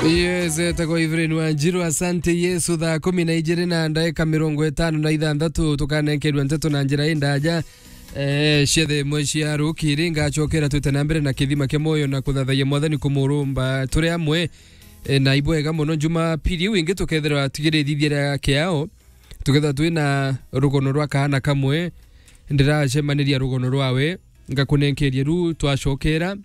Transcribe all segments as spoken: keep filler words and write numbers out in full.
Yes, etagwo Evelyn Wanjiru. Asante Yesu. Thaa kumi na ijiri na ndaika mirongo itano na ithanthatu, tukanenkerua nteto na njira indaja. Eh, ciethe imwe cia rukiri, ngacokera twite na mbere na kithima kia moyo na kuthathayia Mwathani kumurumba turi amwe. Eh, na ibwega muno, Jumapili iu ingi tukethirwa tigirithithia ria kiao, tukethirwa twina rugono rwa kaana kamwe, ndiracemaniria rugono rwawe, ngakunenkeria ru twacokera.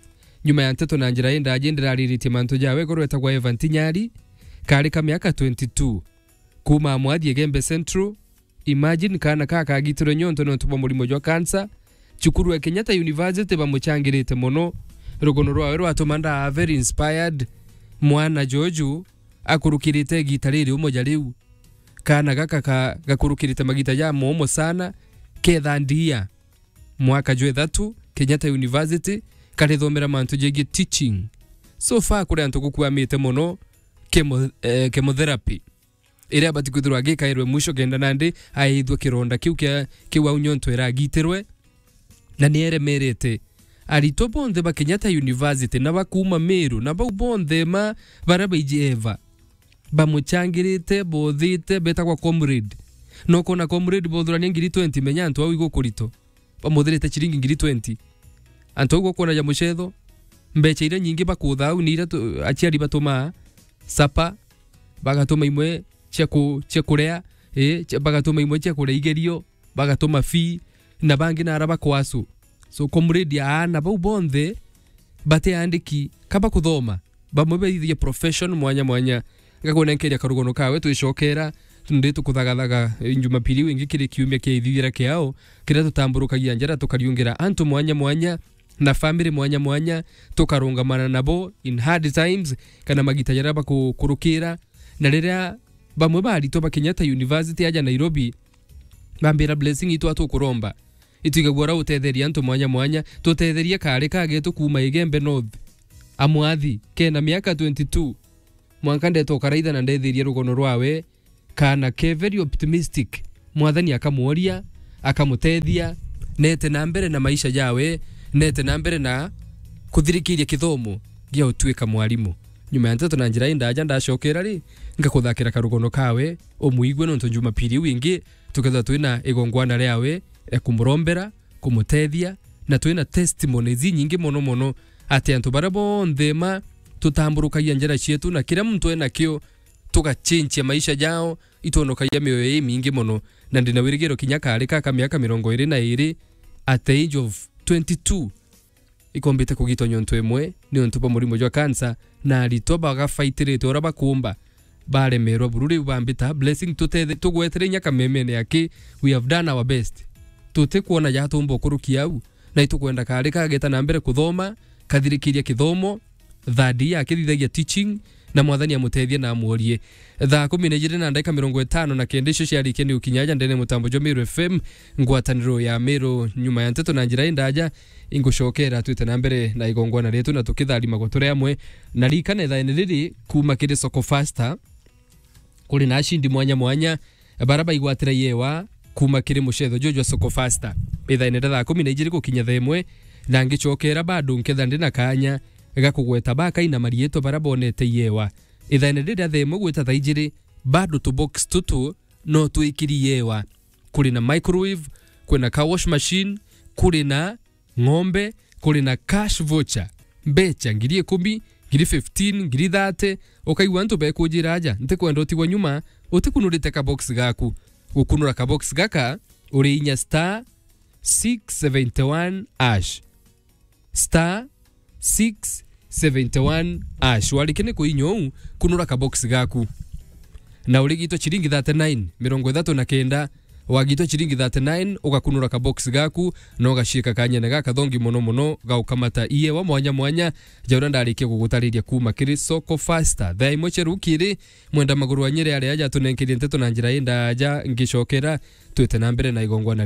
Nyuma ya nteto na njira indaji, ndirariritie mantu jawe, korwa etagwa Evan Tinyari, kari ka miaka twenty-two, kuma Mwathi Igembe Central. Imagine, kaana ka kagitirwe nyonto nontu bwa murimo jwa cancer. Cukuru ya Kenyatta University bamuchangirite mono. Rugono rwawe rwatuma ndaa very inspired. Mwana joju akurukirite igita riri umo ja riu. Kaana gaka ka-, gakurukirite magita ja momo sana, ketha ndia mwaka jwa ithatu, Kenyatta University, karithomera mantu jegie teaching. So far, kuri antu gukwamite mono chemo-, eh, chemotherapy, iria abati kwithirwa agikairwe mwisho kenda nandi aithwe kironda kiu kia, kiu au nyonto iragitirwe, na ni eremerete. Aritwa bonthe ba Kenyatta University na ba kuuma Meru na bau bonthe ma baria baiji eva, bamuchangirite, bothite, betagwa comrade. No kona comrade bothurania ngiri twenty, menya antu au igukurito. Bamuthirite ciringi ngiri twenty. Antu au gukwona ja mucetho, mbecha iria nyingi bakutha au ni iria tu-, aciari batumaa, sapa, bagatuma imwe cia ku-, cia kuria, ii, cia, bagatuma imwe cia kuria igerio, bagatuma fee, na bangi nara bakwasu. So, comrade, aana bau bonthe batiandiki ka bakuthoma, bamwe baithirie profession mwanya mwanya. Ngakunenkeria karugono kawe twicokera, ndi tukuthagathaga, eh, Jumapili iu ingi kiri kiumia kia ithithira kiao, kiria tutamburukagia njara tukariungira antu mwanya mwanya na family mwanya mwanya, tukarungamana nabo in hard times, kana magita jaria bakukurukira. Na riria bamwe ba aritwa ba Kenyatta University aja Nairobi, bambira, "Blessing, itwa tukuromba, itwigagua uria utetheria antu mwanya mwanya, tutetherie kari kagetu kuuma Igembe North, Amwathi, kena miaka twenty-two, mwanka ndeta ukaraitha na ndetherie rugono rwawe." Kaana ke very optimistic, Mwathani akamworia, akamutethia, nete na mbere na maisha jawe, nete na mbere na kuthirikiria kithomo gia utuika mwarimu. Nyuma ya nteto na njira indaja ndacokera ri, ngakuthakira karugono kawe, umuigue, nontu Jumapili iu ingi tukethirwa twina igongwana riawe ria kumurombera, kumutethia, na twina testimonies inyingi mono mono, ati antu baria bonthe ma tutamburukagia njira cietu na kiria muntu enakio, tugachenjia maisha jao, itwonokagia mioyo imingi mono. Na ndina wirigiro kinya kari ka ka miaka mirongo iri na iri, at the age of twenty-two, ikombite kugitwa nyontu imwe niuntu bwa murimo jwa cancer, na aritwa bagafaitiritwe uria bakumba, baremerwa buru. Riu bambita, "Blessing, tutethe-, tugwetere inya kamemene aki, we have done our best. Tutikwona ja tumba ukurukia au, na itukwenda kari kageta na mbere kuthoma, kathirikiria kithomo, third year akithithagia teaching, na Mwathani amutethie na amworie." Thaa kumi na ijiri na ndagika mirongo itano na kenda icio ciarikia ni ukinya aja ndene mutambo jwa Meru F M, ngwataniro ya Meru. Nyuma ya nteto na njira indaja, ingucokera twite na mbere na igongwana rietu na tukitharimagwa turi amwe. Na ririkana ithaene riri kuma kiri Soko Fasta, kuri na ashindi mwanya mwanya bara baigwatira iewa kuma kiri mucetho juju jwa Soko Fasta. Ithaene ria thaa kumi na ijiri gukinya thaa imwe, na ngicokera bado nketha ndi na kanya ga kugweta bakaina marietwa bara bonete iewa. Ithaene riria thaa imwe gwita thaa ijiri, bado tubox tutu no twikiri iewa. Kuri na microwave, kuri na car wash machine, kuri na ng'ombe, kuri na cash voucher, mbecha ngiri ikumi, ngiri fifteen, ngiri thirty. Ukaigua antu bekujira aja, "Ntikwenda utigwa nyuma utikunurite kabox gaku." Gukunura kabox gaka, uri inya star six seventy one hash. Star six seventy one hash. Warikia ni kuinya uu, kunura kabox gaku. Na urigitwe ciringi thirty nine, mirongo ithatu na kenda, wagitwa ciringi thirty nine, ugakunura kabox gaku, na ugaciika kanyene gakathongi mono mono ga ukamata iewa mwanya mwanya, ja uria ndarikia gugutariria kuma kiri Soko Fasta. Thaa imwe cia rukiri, mwenda maguru wa Nyeri aria aja atunenkerie nteto na njira indaja, ngicokera, twite na mbere na igongwana